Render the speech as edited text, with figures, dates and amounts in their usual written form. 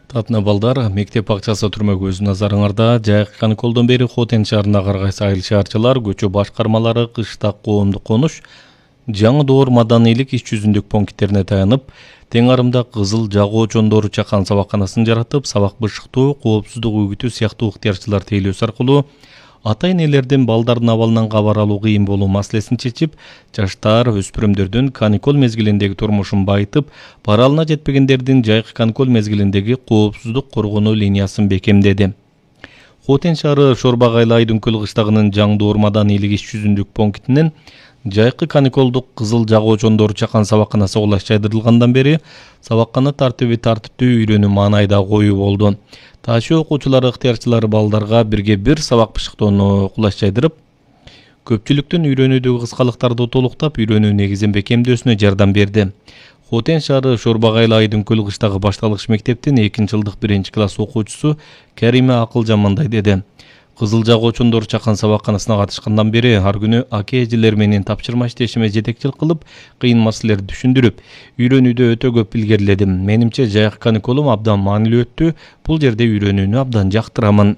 Татына балдар, мектеп акчасы түрмөгү өз назарыңарда. Жайкы каникулдан бери Хотен шаарына каргайсы айыл шаарчылар, көчө башкармалары, кыштак коомдук конуш, жаңы доор маданийлик иш жүзүндүк пункттерине таянып, тең арымда кызыл жагуу чондору чакан сабакканасын жаратып, сабак бышыктоо, коопсуздук үгүтүү сыяктуу ыктыярчылар тейлөөсү аркылуу ата-энелердин балдардын абалынан кабар алуу кыйын болуу маселесин чечип, жаштар, өспүрүмдөрдүн каникул мезгилиндеги турмушун байытып, баралына жетпегендердин жайкы каникул мезгилиндеги коопсуздук коргонуу линиясын бекемдеди. Хотен шаары Шорбак айыл Айдынкөл кыштагынын жаңы доор маданийлик иш жүзүндүк пунктинен жайкы каникулдук кызыл жагуу чондору чакан сабакканасы кулаш жайдырылгандан бери сабаккана тартиптүү үйрөнүү маанайда коюу болду. Ташуу окуучулар ыктыярчылары балдарга бирге бир сабак бышыктоону кулаш жайдырып, көпчүлүктүн үйрөнүүдөгү кыскалыктарды толуктап, үйрөнүү негизин бекемдөөсүнө жардам берди. Хотен шаары Шорбак айыл Айдынкөл кыштагы башталгыч мектептин 2-жылдык 1-класс окуучусу Кариме Акылжан мындай деди. Кызыл жагуу чондору чакан сабакканасына катышкандан бери ар күнү аке-эжелер менен тапшырма иштешиме жетекчилик кылып, кыйын маселелерди түшүндүрүп, үйрөнүүдө өтө көп илгериледим. Менимче жайкы каникулум абдан маанилүү өттү. Бул жерде үйрөнүүнү абдан жактырамын.